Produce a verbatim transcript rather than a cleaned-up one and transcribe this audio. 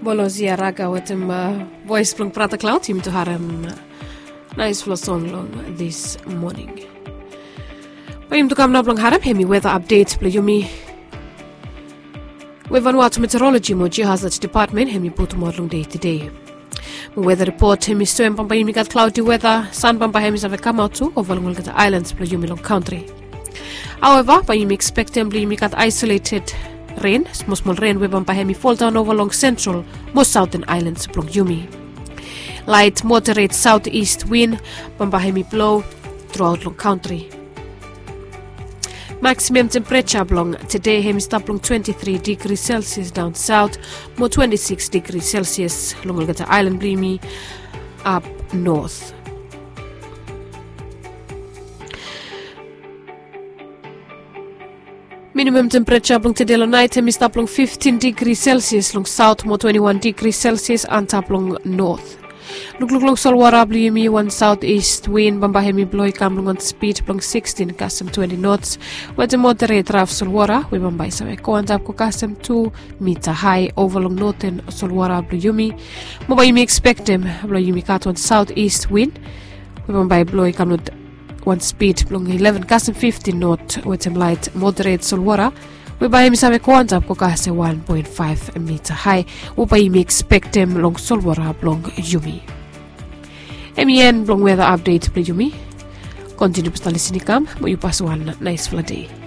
Bolozi araga wetem vois blong brata klaud yumi tu harem. Nais flo song long dis moning. Bae yumi tu kam nao blong harem hemi weta apdet blong yumi. We vanua tu meteoroloji mo jihazat depatmen hemi putumaot long dei tedei. Mo weta ripot hemi soem bambae yumi gat klaudi weta san bambae hemi save kamaot tu ova long olgeta aelans blong yumi long kantri. Aoeva bae yumi ekspektem blong yumi gat aisoleted ren smosmol ren we bambae hemi foldaon ova long sentral mo saoten aelans blong yumi. Lait moderet saot ist win bambae hemi blo truaot long kantri. Maksimam tempereja blong tede hemi stap long twenti tri digri selsias daon saot mo twenti siks digri selsias long olgeta aelan blong yumi ap not. Minimam tempereja blong tede long nait hemi stap long fiftin digri selsias long saot mo twenti wan digri selsias antap long not. Lukluk long solwara blong yumi wan saot ist win bambae hemi blo i kam long wan spid blong sikstin kasem twenti nots. Wetem moderet raf solwara we bambae i save go antap go kasem tu mita hae ova long noten solwara blong yumi. Mo bae yumi ekspektem blong yumi gat wan saot ist win we bambae i blo i kam long wan spid blong ileven kasem fiftin not wetem lait moderet solwara we bae yumi save go antap go kasem wan poen faef mita hae. We bae yumi ekspektem long solwara blong yumi. Hemi en blong weta apdet blong yumi. Kontiniu basta lisin i kam mo yu pas wan nais fla dei.